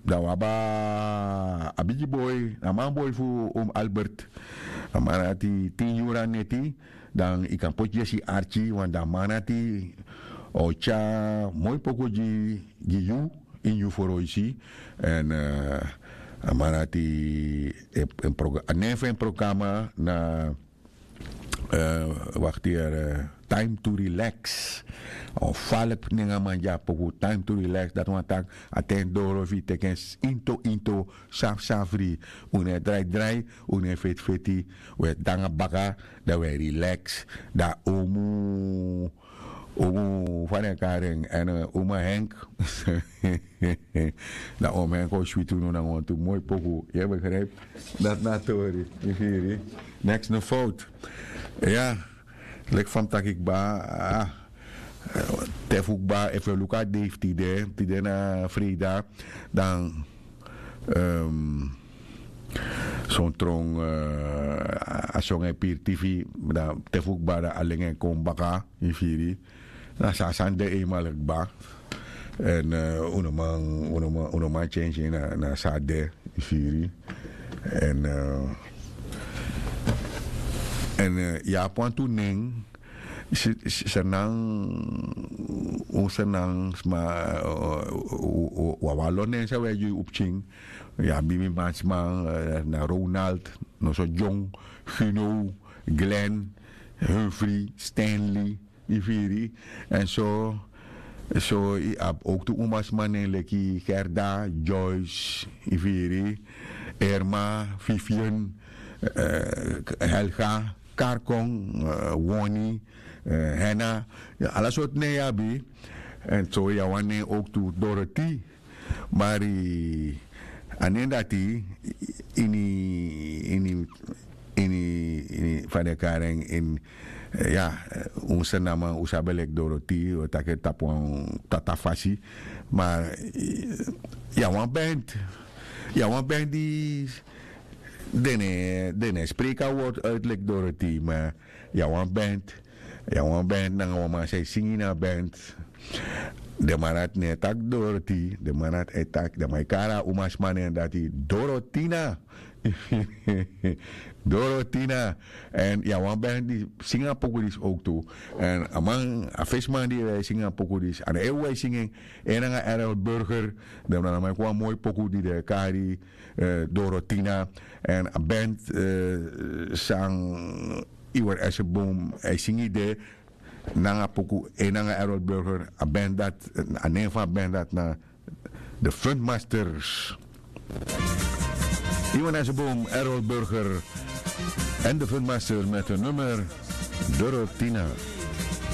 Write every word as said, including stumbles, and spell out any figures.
Dan wi abi a bigi boi, a manboi fu um Albert. A man dati tin yuru na neti. Dan yu kan poti yesi arki, want dan a man dati o tyari moi poku gi yu ini yu foroisi. Èn a man dati, a nen fu en programa na, wakti, Time to Relax. A wan faliki nen a man gi a poku, Time to Relax. Dati wani taki a ten doro fu yu teki en into into, safsafri. Un no e draidrai, un no e fetifeti. Un e de nanga baka, dan un e relax. Dan un mu Omu, fa den e kari en, èn, eh, Oma Henk. Dan Oma Henk o switi unu nanga wantu moi poku. Yu e begrijp? Dati na a tori, yu firi. Neks no fout. Ya, leki fa mi taki kba, ah, eh, te fu kba, efu yu luku a dei fu tide, tide na freida, dan, ehm, son tron, eh, a son e piri tifi, dan te fu kba dan a lengi en kon baka, yu firi. Na so a sani de eenmaal kba. Èn, eh, un no man, un no man, un no man tyentye na, na so a de, yu firi. Èn, eh, èn, eh, yu abi wantu nen, si, si, Sranan, un Sranan sma, eh, u, u, u, u abi wan lo nen san un e gi un pikin. Yu abi mi mansma, eh, na Ronald, noso John, Gino, Glenn, Humphrey, Stanley, yu firi. Èn so, so yu abi ook tu umasma nen leki Gerda, Joyce, yu firi, Irma, Vivian, eh, Helga, Karkon, eh, Woni, eh, Henna. Ya, ala sortu nen yu abi. Èn so yu abi wan nen ook tu Dorothy. Mari a nen dati ini, ini, ini, ini, fa den e kari en, ini, eh, ya, eh, un Sranan man, un sabi en leki Dorothy, un e taki en tapu wan tata fasi. Ma, eh, yu abi wan band. Yu abi wan band di den no e, den no e spreki a wortu uit leki Dorothy, ma yu abi wan band. Yu abi wan band nanga wan man san e singi na a band. Den man dati no e taki Dorothy, den man dati e taki, den man e kari a umasma nen dati Dorotina. Dorotina. Èn yu abi wan band di singi a poku disi ook tu. Èn a man, a fesi man di e singi a poku disi, a no e wai singi en, en nanga Errol Burger. Den man na man kon wan moi poku di den e kari, eh, Dorotina. Èn a band, eh, san Iwan Essenboom e singi de, nanga poku, en nanga Errol Burger, a band dati, a nen fu a band dati na The Fundmasters. Iwan Essenboom, Errol Burger en The Fundmasters met hun nummer Dorotina.